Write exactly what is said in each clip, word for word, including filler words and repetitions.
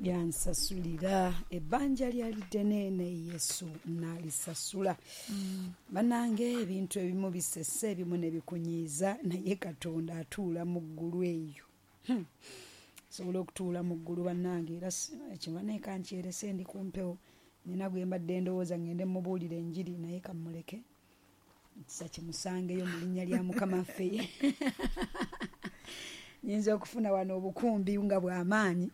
Yansasulira ebbanja lyali ddene, ne Yesu n'alisasula. Bannange, ebintu ebimu bisese, ebimu ne bikunyiiza, naye Katonda atuula mu ggulu eyo. Hmm. Sobola okutuula mu ggulu, bannange, era ekimanyi kankyerese, ndi ku mpewo, nina gwe mbadde ndowooza ngende mubuulira enjiri, naye kammuleke, ekisa kimusangeyo mu linnya lya Mukama waffe. Nyinza okufuna wano obukumbi nga bw'amaanyi.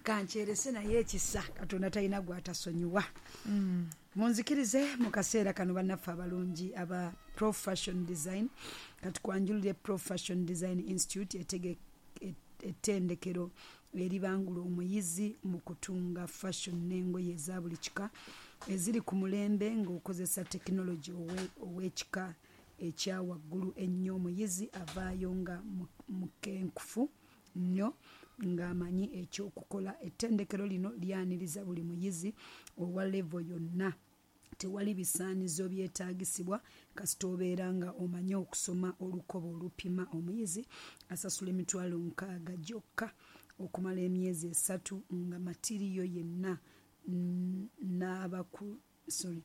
Kankyerese, naye ekisa Katonda talina gwatasonyiwa. Munzikirize mu kaseera kano, bannaffe abalungi aba Pro Fashion Design, katukwanjulire Pro Fashion Design Institute, etege ettendekero eribangula omuyizi mu kutunga fashion n'engoye eza buli kika eziri ku mulembe ng'okozesa tekinologi ow'ekika ekya waggulu ennyo. Omuyizi avaayo nga mukenkufu nnyo, ng'amanyi ekyokukola. Ettendekero lino lyaniriza buli muyizi owa level yonna. Tewali bisaanizo byetaagisibwa, kasita obeera nga omanyi okusoma olukoba olupima. Omuyizi asasula emitwalo nkaaga gyokka okumala emyezi esatu, nga material yenna n'abaku, sorry,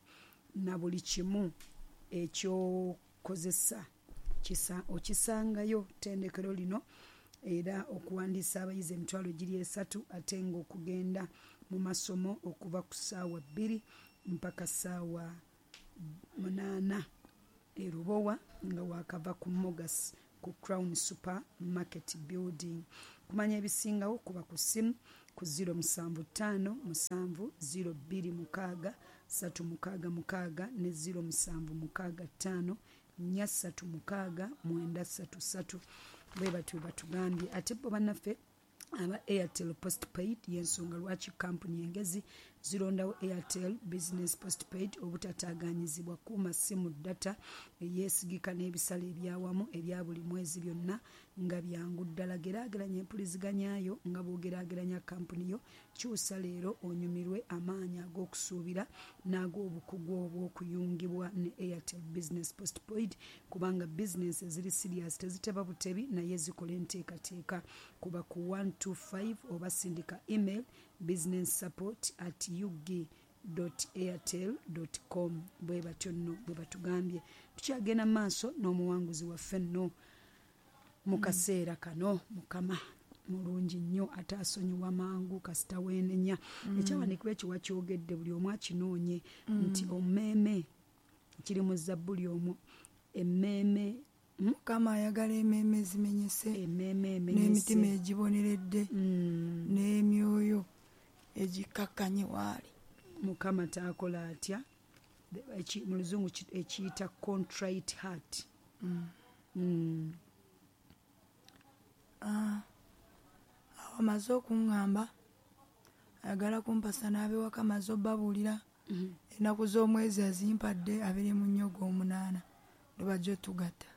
na buli kimu ekyokozesa okisangayo. Ttendekero lino era okuwandiisa abayizi emitwalo giri esatu, ate ng'okugenda mu masomo okuva ku ssaawa bbiri mpaka ssaawa munaana, e Lubowa nga wakava ku Mogas, ku Crown Supermarket building. Kumanya ebisingawo, kuba ku ssimu ku zero musanvu ttaano musanvu zero bbiri mukaaga ssatu mukaaga mukaaga ne zero musanvu mukaaga ttaano nnya ssatu mukaaga mwenda ssatu ssatu. Bwe batyo batugambye. Ate bo bannaffe aba Airtel Postpaid, y'ensonga lwaki kampuni engezi zirondawo Airtel Business Postpaid. Obutataaganyizibwa, kuuma simu data eyeesigika n'ebisale ebyawamu ebya buli mwezi, byonna nga byangu ddala. Geraageranya empuliziganyayo nga bw'ogeraageranya kampuni yo. Kyusa leero onyumirwe amaanyi ag'okusuubira n'ag'obukugu obw'okuyungibwa ne Airtel Business Postpaid, kubanga bizinesi eziri serious teziteba butebi, naye zikola enteekateeka. Kuba ku one two five oba sindika email business support at ug airtel com. Bwe batyo nno bwe batugambye. Tukyagenda mu maaso n'omuwanguzi waffe nno mu kaseera kano. Mukama mulungi nnyo, ate asonyiwa mangu kasita weenenya. Ekyawandiikibwa ekyo wakyogedde, buli omu akinoonye, nti ommeeme, kiri mu Zabbuli omwo, emmeeme. Mukama ayagala emmeeme ezimenyese, emmeeme emenyese, n'emitima egiboneredde, Mm. n'emyoyo egikkakkanye waali. Mukama taakola atya? Eki- mu Luzungu ki- ekiyita contrite heart Mm. Ah, awo amaze okuŋŋamba ayagala kumpasa, n'abewaka maze obbabuulira. Ennaku z'omwezi azimpadde, abiri mu nnyo ogw'omunaana lwe bajja otugatta.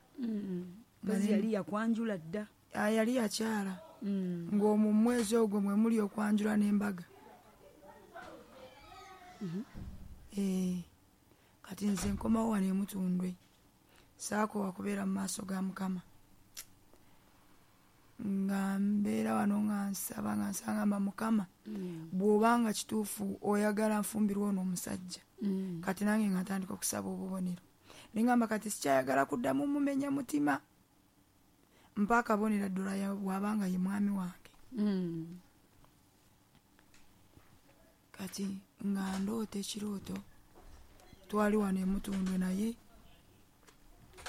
Mpozi yali yakwanjula dda? Ah, yali yakyala, Mm. ng'omwo mu mwezi ogwo mwe muli okwanjula n'embaga. Eh, kati nze nkomawo wano emutundwe, saakoowa kubeera mu maaso ga Mukama, nga mbeera wano nga nsaba, nga nsaba, ngamba, "Mukama, bw'obanga kituufu oyagala nfumbirwa ono omusajja." Mm. Kati nange nga ntandika okusaba obubonero, neŋŋamba, "Kati sikyayagala kuddamu mumenya mutima, mpa akabonero ddala ya- bw'abanga ye mwami wange." Mm. Kati nga ndoota ekirooto, twali wano emutundwe, naye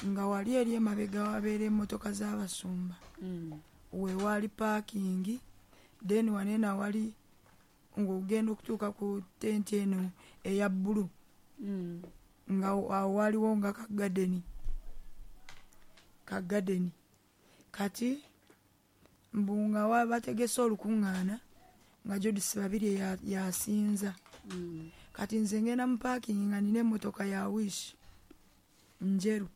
nga wali eri emabega wabeera emmotoka z'abasumba. Mm. Wewaali parking, then waneeno awali ng'ogenda okutuuka ku tenti eno eya bbulu, Mm. nga awo waaliwo nga kagadeni kagadeni Kati mbu nga wa- bategese olukuŋŋaana, nga Judisi Babiri ya- yasinza. Mm. Kati nze ngenda mu parking nga nina emmotoka ya Wish njeru,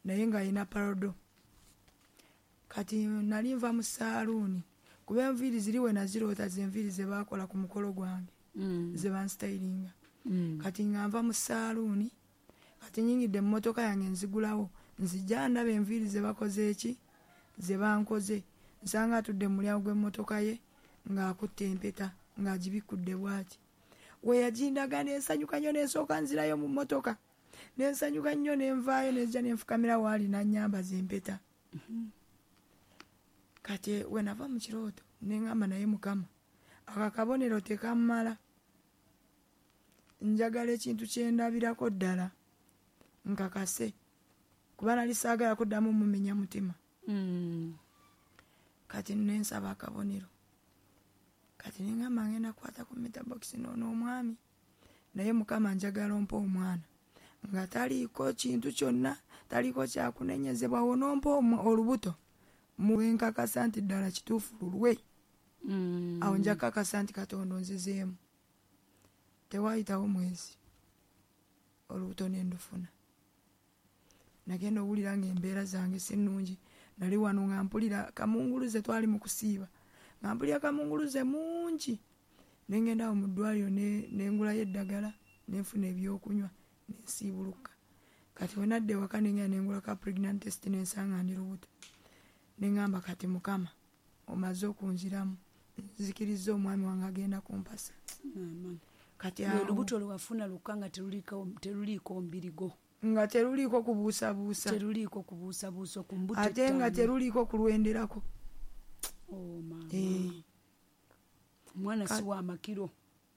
naye nga yina Prado. Kati nali nva mu saaluuni, kuba enviiri ziri we naziroota ze enviiri ze baakola ku mukolo gwange, Mm. ze bansitayiringa. Mm. Kati nga nva mu saaluuni, kati nyingidde mu mmotoka yange, nzigulawo, nzija ndaba enviiri ze bakoze eki, ze bankoze. Nsanga atudde mu mulyango gw'emmotoka ye ng'akutte empeta. Ng'agibikudde bw'ati. We yagindaga ne nsanyuka nnyo, ne nsooka nzirayo mu mmotoka. Ne nsanyuka nnyo ne nvaayo ne nzija ne nfukamira waali n'annyambaza empeta. Kati we nava mu kirooto ne ŋŋamba naye Mukama, ako akabonero tekammala. Njagala ekintu kye ndabirako ddala nkakase, kuba nali saagala kuddamu mumenya mutima. Kati ne nsaba akabonero. Kati ne ŋŋamba ngenda kukwata ku meter box n'ono omwami, naye Mukama njagala ompe omwana nga taliiko kintu kyonna, taliiko kyakunenyezebwa, onompa olubuto muwenkakasa nti ddala kituufu lulwe. Awo nja kakasa nti Katonda onzizeemu. Tewaayitawo mwezi olubuto ne ndufuna. Nagenda owulira ng'embeera zange si nnungi. Nali wano nga mpulira kamunguluze, twali mu kusiiba, nga mpulira kamunguluze mungi. Ne ngenda awo mu ddwaliro ne ngulayo eddagala, ne nfuna ebyokunywa, ne nsiibuluka. Kati we nadda ewaka ne ngenda ne ngula ka pregnant test ne nsanga ndi lubuto. Ne ŋŋamba kati Mukama omaze okunziramu, nzikirizza omwami wange agenda kumpasa. Kati awo olubuto lwe wafuna lwokka nga teruliiko mbirigo, nga teruliiko kubuusabuusa, teruliiko kubuusabuusa ku mbuto, ate nga teruliiko kulwenderako. Oh mama, omwana si wa makiro.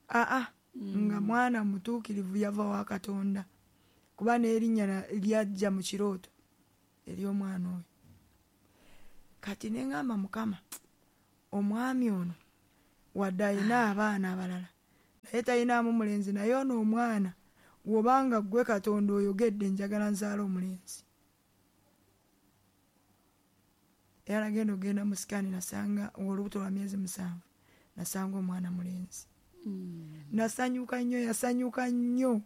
Aa, nga mwana mutuukirivu, yava wa Katonda, kuba n'erinnya lyajja mu kirooto ery'omwana oyo. Kati ne ŋŋamba Mukama, omwami ono wadde alina abaana abalala naye talinaamu mulenzi, naye ono omwana bw'obanga ggwe Katonda oyogedde, njagala nzaale omulenzi. Era nagenda okugenda mu sikaani nasanga olubuto lwa myezi musanvu, nasanga omwana mulenzi. Nasanyuka nnyo, yasanyuka nnyo.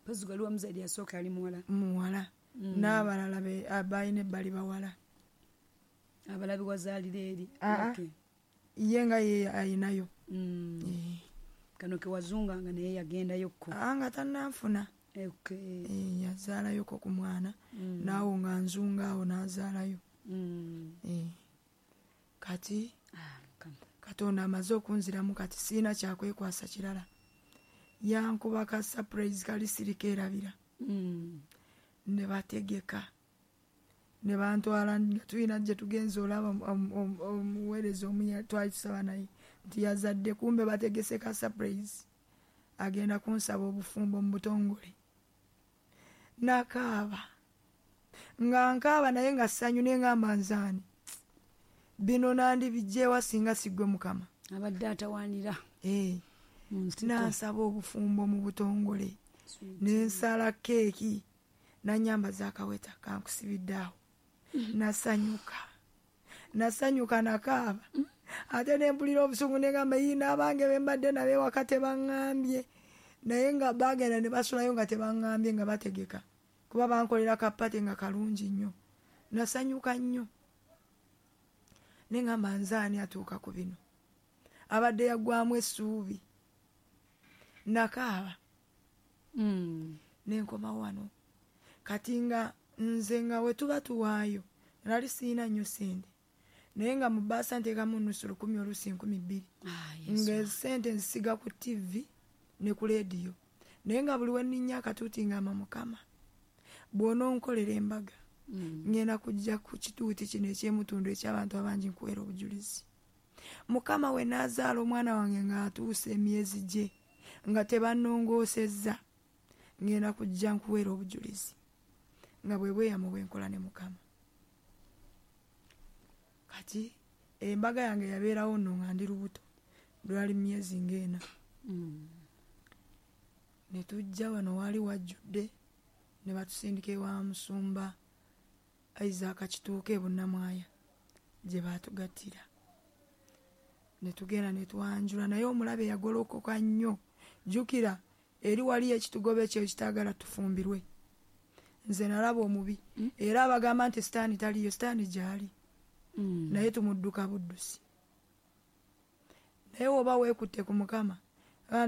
Mpozzi waliwo omuzaire yasooka yali muwala. Muwala. N'abalala balina ebbali bawala. Abalabi wazaalira eri. Ye nga ye ayinayo. Kano ke wazunganga naye yagendayokko. Nga tannanfuna. Yazaalayoko ku mwana, naawo nga nzunga awo n'azaalayo. Kati Katonda amaze okunziramu, kati sirina kyakwekwasa kirala. Yankuba ka surprise kali sirikeerabira. Ne bategeka, ne bantwala nga tulina gye tugenze olaba omuweereza omu twali tusaba naye nti yazadde, kumbe bategese ka surprise, agenda kunsaba obufumbo mu butongole. Nakaaba nga nkaaba naye nga ssanyu, ne ŋŋamba nzaani bino nandibijjeewa singa siggwe Mukama. Abadde atawaanira. Nansaba obufumbo mu butongole, ne nsala keeki, nannyambaza akaweta kankusibidde awo. Nasanyuka, nasanyuka nakaaba. Ate ne mpulira obusungu ne ŋŋamba yii n'abange be mbadde nabo ewaka tebaŋŋambye, naye nga baagenda ne basulayo nga tebaŋŋambye, nga bategeka, kuba bankolera ka party nga kalungi nnyo. Nasanyuka nnyo ne ŋŋamba nzaani atuuka ku bino, abadde yaggwamu essuubi. Nakaaba ne nkoma wano. Kati nga nze nga we tuba tuwaayo nali sirina nnyo ssente, naye nga mu bbaasa nteekamu nusu lukumi oluusi nkumi bbiri, nga ssente nzisiga ku T V ne ku leediyo, naye nga buli we nninnya akatuuti ngamba Mukama bw'ononkolera embaga ngenda kujja ku kituuti kino eky'emutundu eky'abantu abangi nkuweera obujulizi. Mukama we naazaala omwana wange ng'atuuse emyezi gye nga tebannongoosezza, ngenda kujja nkuweera obujulizi. Nga bwe bweyamo bwe nkola ne Mukama. Kati embaga yange yabeerawo nno nga ndi lubuto, lwali myezi ng'ena. Ne tujja wano waali wajjudde, ne batusindika ewa musumba Isaac Kituuka e Bunnamwaya gye baatugattira. Ne tugenda ne twanjula, naye omulabe yagolokoka nnyo. Jjukira eri waliyo ekitugoba ekyo ekitaagala tufumbirwe. Nze nalaba omubi, era abagamba nti sitaani taliyo, sitaani gy'ali, naye tumudduka buddusi. Naye woba weekutte ku Mukama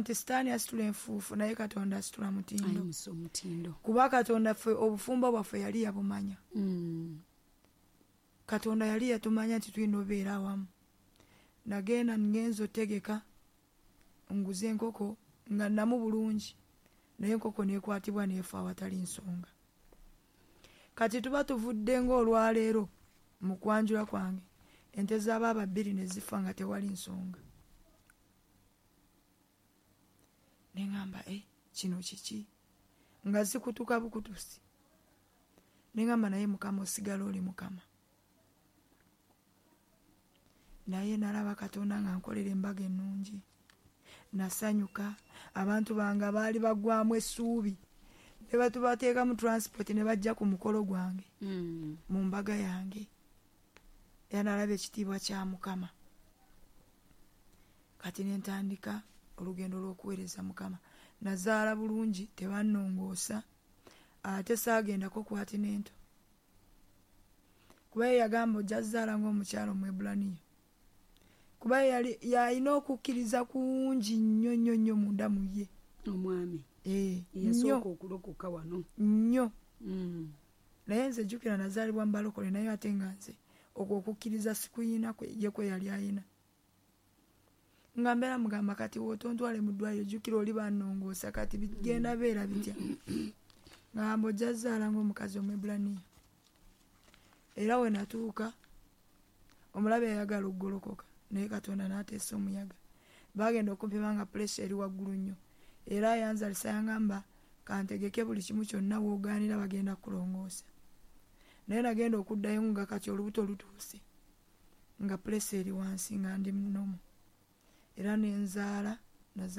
nti sitaani asitula enfuufu, naye Katonda asitula mutindo. Kuba Katonda ffe obufumbo bwaffe yali yabumanya. Katonda yali yatumanya nti tulina obeera awamu. Nagenda ngenza otegeka Nguze enkoko nga nnamu bulungi, naye enkoko neekwatibwa neefa awatali nsonga. Kati tuba tuvudde ng'olwaleero mu kwanjula kwange, ente z'abaaba bbiri ne zifa nga tewali nsonga. Ne ŋŋamba, eh, kino kiki? Nga zikutuka bukutusi. Ne ŋŋamba, naye Mukama osigala oli Mukama. Naye nalaba Katonda nga nkolera embaga ennungi. Nasanyuka, abantu bange baali baggwamu essuubi. Ne batubateekamu transport ne bajja ku mukolo gwange. Mm. Mu mbaga yange. Era nalaba ekitiibwa kya Mukama. Kati ne ntandika olugendo lw'okuweereza Mukama. Nazaala bulungi, tebannongoosa, ate saagendako ku antenatal. Kuba ye yagamba ojja zaala ng'omukyala Omwebbulaniya. Kuba yali yalina okukkiriza kungi nnyo nnyo nnyo munda mu ye. Omwami. Eh, Yasooka okulokoka wano. Nnyo. Mm. Naye nze jjukira nazaalibwa mu balokole, naye ate nga nze okwo okukkiriza sikuyina kwe, ye kwe yali ayina. Nga mbeera mugamba kati w'otontwale mu ddwaliro jjukira oli bannongoosa kati bigenda beera bitya. Ngamba ojja zaala ng'omukazi Omwebbulaniya. Era we natuuka omulabe yayagala okugolokoka, naye Katonda n'ateesa omuyaga. Baagenda okumpima nga puleesa eri waggulu nnyo. Era yanzalisa yangamba kantegeke buli kimu kyonna w'ogaanira bagenda kulongoosa. Naye nagenda okuddayo nga kati olubuto lutuuse, nga puleesa eri wansi nga ndi munomu. Era ne nzaala, nazaala